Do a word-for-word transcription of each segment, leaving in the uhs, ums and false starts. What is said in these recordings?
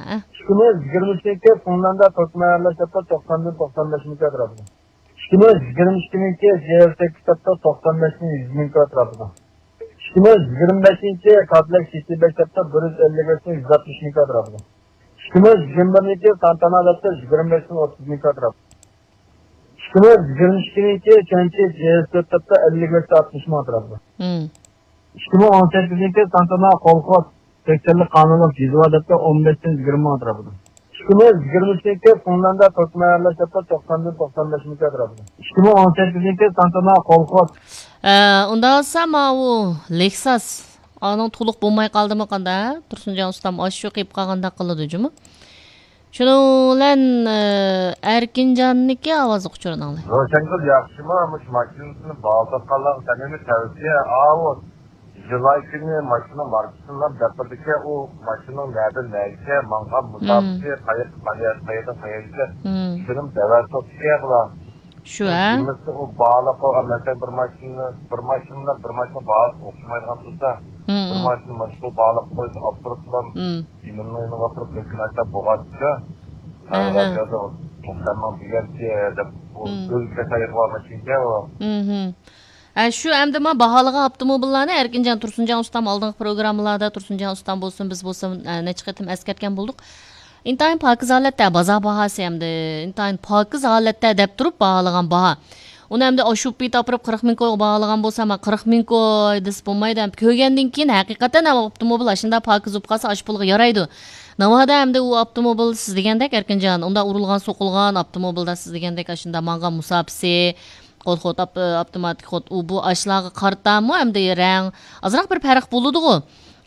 ھە. ئىككى مىڭ يىگىرمە ئۈچىنچى فىنلاندىيە تۈركمەن ئەرلەر ھېسابتا توقساندىن توقسان بەش مىڭ كوي ئەتراپىدا. ئىككى مىڭ يىگىرمە ئىككىنچى جي ئېل تېك ھېسابتا توقسان بەش مىڭ يۈز مىڭ كوي ئەتراپىدا. ئىككى مىڭ يىگىرمە بەشىنچى كادىلەك سىتى بەش ھېسابتا بىر يۈز ئەللىك بەش مىڭ يۈز ئاتمىش مىڭ كوي ئەتراپىدا. ئىككى مىڭ يىگىرمە بىرىنچى تانتانا ھېسابتا يىگىرمە بەش مىڭ ئوتتۇز مىڭ كوي ئەتراپىدا. ئىككى مىڭ يىگىرمە ئىككىنچى چۈەنچى جي ئېس تۆت ھېسابتا ئەللىك بەش مىڭ ئاتمىش مىڭ ئەتراپىدا. مم. ئىككى مىڭ ئون سەككىزىنچى تانتانا قولخوس سەكسەنلىك قانۇنلۇق جىزۋا دەپتە ئون بەشتىن يىگىرمە مىڭ ئەتراپىدا. ئىككى مىڭ يىگىرمە ئۈچىنچى فىنلاندىيە تۈركمەن ئەرلەر ھېسابتا توقساندىن توقسان بەش مىڭ ئەتراپىدا. ئىككى مىڭ ئون سەككىزىنچى تانتانا قولخوس. ئە، ئۇنداق بولسا ماۋۇ لېكساس ئانىڭ تولۇق بولماي قالدىمۇ قاندا؟ تۇرسۇنجان ئۇستام ئاشۇ قېلىپ قالغاندەك قىلىدۇ جۇمۇ. شۇنىڭ بىلەن، ئە، ئەركىنجاننىڭكى ئاۋازلىق ئۇچۇرىنى ئاڭلايلى. روشەنگۈل ياخشىمۇ؟ مۇشۇ ماشىنىسىنى باھالىتىۋاتقانلارغا سەمىمىي تەۋسىيە. ئاۋۇ جۇلاي كۈنى ماشىنا ماركىسىنى دەپ بېرىدىكەن، ئۇ ماشىنىنىڭ نەدىن نەگىچە ماڭغان مۇساپىسى، قاياققا، قاياق-، قاياقتىن قاياققىچە، شۇنىمۇ دەۋەتتۇق دېگەن بۇلار. شۇ، ھە؟ ھەممىسى ئۇ باھالاپ قويغان، مەسىلەن، بىر ماشىنا، بىر ماشىنا بىلەن بىر ماشىنا باھاسى ئوخشىمايدىغان تۇرسا، بىر ماشىنا ماشىنا باھالاپ قويسا، ئاپتورۇپ بىلەن ئىمىننىڭ يېنىغا ئاپىرىپ، لېكىن ئاشۇنداق بولغانچە، ھە، ھە، رادىيودا توقسان مىڭ دېگەنچە دەپ، ئۇ ئۆزى كەسەيگە بارمىسىكەن ئۇ. ھە، شۇ ئەمدى ما باھالىغان ئاپتوموبىللارنى ئەركىنجان تۇرسۇنجان ئۇستام ئالدىنقى پروگراممىلاردا تۇرسۇنجان ئۇستام بولسۇن، بىز بولسۇن، ئە، نەچچە قېتىم ئەسكەرتكەن بولدۇق. ئىنتايىن پاكىز ھالەتتە، بازار باھاسى ئەمدى ئىنتايىن پاكىز ھالەتتە دەپ تۇرۇپ باھالىغان باھا. ئۇنى ئەمدى ئاشۇ پېتى ئاپىرىپ قىرىق مىڭ كويغا باھالىغان بولسا، ما قىرىق مىڭ كوي دېسە بولمايدۇ. ئەمدى كۆرگەندىن كېيىن ھەقىقەتەن ئاپتوموبىل ئاشۇنداق پاكىز بولۇپ قالسا، ئاشۇ پۇلغا يارايدۇ. ناۋادا ئەمدى ئۇ ئاپتوموبىل سىز دېگەندەك ئەركىنجان، ئۇنداق ئۇرۇلغان، سوقۇلغان ئاپتوموبىلدا سىز دېگەندەك ئاشۇنداق ماڭغان مۇساپىسى، خود، خود، ئاپ-، ئاپتوماتىك خود، ئۇ بۇ ئاشۇلارغا قارىتامۇ ئەمدى رەڭ ئازراق بىر پەرق بولىدىغۇ.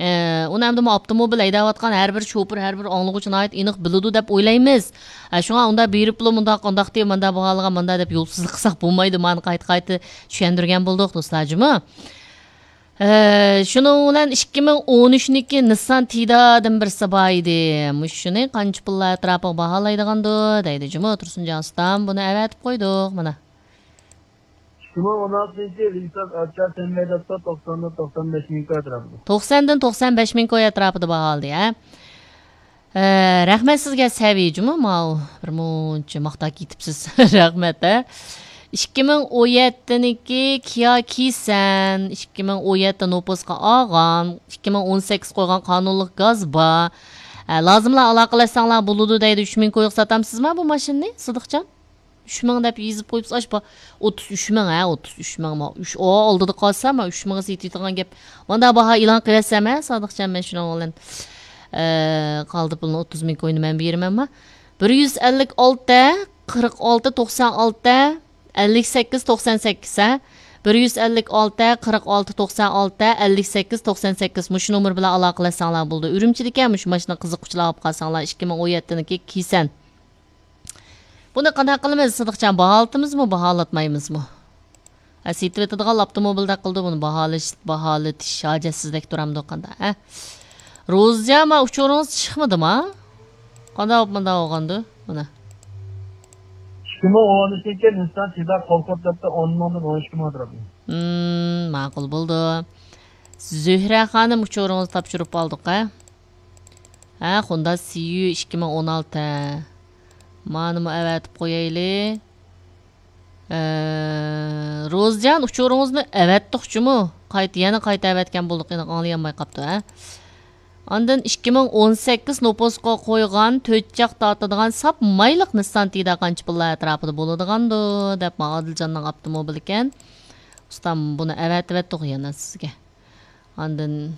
ئە، ئۇنى ئەمدى مۇ ئاپتوموبىل ھەيدەۋاتقان ھەر بىر شوپۇر، ھەر بىر ئاڭلىغۇچى ناھايىتى ئېنىق بىلىدۇ دەپ ئويلايمىز. ئە، شۇڭا ئۇنداق بېرىپلا مۇنداق، ئۇنداق دېيىپ، مانداق باھالىغان، مانداق دەپ يولسىزلىق قىلساق بولمايدۇ. مانا قايتا، قايتا چۈشەندۈرگەن بولدۇق، دوستلار جۇمۇ. ئە، شۇنىڭ بىلەن ئىككى مىڭ ئون ئۈچنىڭكى نىسسان تىدادىن بىرسى بار ئىدى. مۇشۇنى قانچە پۇللار ئەتراپىغا باھالايدىغاندۇ دەيدۇ جۇمۇ تۇرسۇنجان ئۇستام. بۇنى ئەۋەتىپ قويدۇق، مانا. ئىككى مىڭ ئون ئالتىنچى لېكساس ئاچا سەنمەيدەپتۇ، توقساندىن توقسان بەش مىڭ كوي ئەتراپىدا. توقساندىن توقسان بەش مىڭ كوي ئەتراپىدا باھالىدى، ھە؟ ئە، رەھمەت سىزگە سەۋىي جۇمۇ، ماۋۇ بىر مۇنچە ماختاپ كېتىپسىز. رەھمەت، ھە؟ ئىككى مىڭ ئون يەتتىنىڭكى كىيا كىسەن، ئىككى مىڭ ئون يەتتە نوپۇسقا ئالغان، ئىككى مىڭ ئون سەككىز قويغان قانۇنلۇق گاز بار. ئە، لازىملا ئالاقىلەشسەڭلار بولىدۇ دەيدۇ، ئۈچ مىڭ كويغا ساتامسىزما بۇ ماشىنىنى، سىدىقجان؟ ئۈچ مىڭ دەپ يېزىپ قويۇپسىز، ئاشۇ با-، ئوتتۇز ئۈچ مىڭ، ھە، ئوتتۇز ئۈچ مىڭ، ما، ئۈچ، ئو، ئالدىدا قالسا، ما، ئۈچ مىڭغا سېتىۋېتىدىغان گەپ. ماندا باھا ئېلان قىلىۋەتسەم، ھە، سادىقجان، مەن شۇنىڭ بىلەن، ئە، قالدى پۇلنى ئوتتۇز مىڭ كوينى مەن بېرىمەنما؟ بىر يۈز ئەللىك ئالتە، قىرىق ئالتە، توقسان ئالتە، ئەللىك سەككىز، توقسان سەككىز، ھە؟ بىر يۈز ئەللىك ئالتە، قىرىق ئالتە، توقسان ئالتە، ئەللىك سەككىز، توقسان سەككىز، مۇشۇ نومۇر بىلەن ئالاقىلەشسەڭلار بولىدۇ. ئۈرۈمچىدىكەن مۇشۇ ماشىنا قىزىققۇچىلار ئاپ قالساڭلار، ئىككى مىڭ ئون يەتتىنىڭكى كىسەن. بۇنى قانداق قىلىمىز، سىدىقجان؟ باھالىتىمىزمۇ، باھالاتمايمىزمۇ؟ ھە، سېتىۋېتىدىغان ئاپتوموبىلدەك قىلدى بۇنى، باھالىش-، باھالىتىش ھاجەتسىزدەك تۇرامدۇ قانداق، ھە؟ روزىجان، ما ئۇچۇرىڭىز چىقمىدىما؟ قانداق بولۇپ مۇنداق بولغاندۇ؟ مانا. ئىككى مىڭ ئون ئۈچىنچى نىسسان تىدا قول قوپلاپتا ئون مىڭدىن ئون ئىككى مىڭ ئەتراپىدا. ھىم، ماقۇل بولدى. زۆھرە خانىم، ئۇچۇرىڭىزنى تاپشۇرۇپ ئالدۇق، ھە؟ ھە، خوندا سىيۈ ئىككى مىڭ ئون ئالتە. مانىمۇ ئەۋەتىپ قويايلى. ئە، روزىجان، ئۇچۇرىڭىزنى ئەۋەتتۇق جۇمۇ. قايتا، يەنە قايتا ئەۋەتكەن بولدۇق، ئېنىق ئاڭلىيالماي قاپتۇ، ھە؟ ئاندىن ئىككى مىڭ ئون سەككىز نوپۇسقا قويغان تۆت چاق تارتىدىغان ساپ مايلىق نىسسان تىدا قانچە پۇللار ئەتراپىدا بولىدىغاندۇ دەپ، ما ئادىلجاننىڭ ئاپتوموبىلىكەن. ئۇستام، بۇنى ئەۋەتىۋەتتۇق يەنە سىزگە. ئاندىن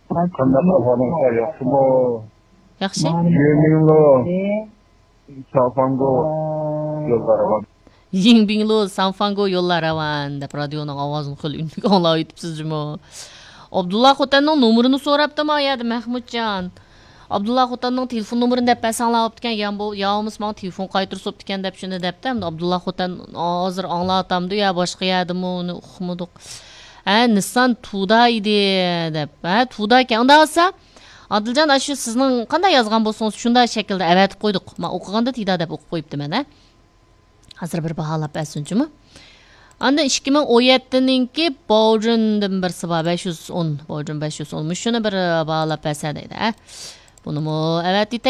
قانداق ئەھۋالىڭىزلار، ياخشىمۇ؟ ياخشى. يېڭبىڭلۇ، ساۋفاڭگو يوللار راۋان. يېڭبىڭلۇ، ساۋفاڭگو يوللار راۋان دەپ رادىيونىڭ ئاۋازىنى خېلى ئۈنلۈك ئاڭلاۋېتىپسىز جۇمۇ. ئابدۇللا خوتەننىڭ نومۇرىنى سوراپتىما يەردە مەھمۇتجان. ئابدۇللا خوتەننىڭ تېلېفون نومۇرىنى دەپ بەرسەڭلار بوپتىكەن، يا بۇ، يا بولمىسا ماڭا تېلېفون قايتۇرسا بوپتىكەن دەپ شۇنى دەپتۇ. ئەمدى ئابدۇللا خوتەن ھازىر ئاڭلاۋاتامدۇ يا باشقا يەردىمۇ، ئۇنى ئۇقمىدۇق. ھە، نىسسان تۇدا ئىدى دەپ. ھە، تۇدا ئىكەن. ئۇنداق بولسا، ئادىلجان، ئاشۇ سىزنىڭ قانداق يازغان بولسىڭىز، شۇنداق شەكىلدە ئەۋەتىپ قويدۇق. ما ئوقۇغاندا تىدا دەپ ئوقۇپ قويۇپتىمەن، ھە. ھازىر بىر باھالاپ بەرسۇن جۇمۇ. ئاندىن ئىككى مىڭ ئون يەتتىنىڭكى باۋجۈندىن بىرسى بار، بەش يۈز ئون، باۋجۈن بەش يۈز ئون. مۇشۇنى بىر باھالاپ بەرسە دەيدۇ، ھە. بۇنىمۇ ئەۋەتىتە.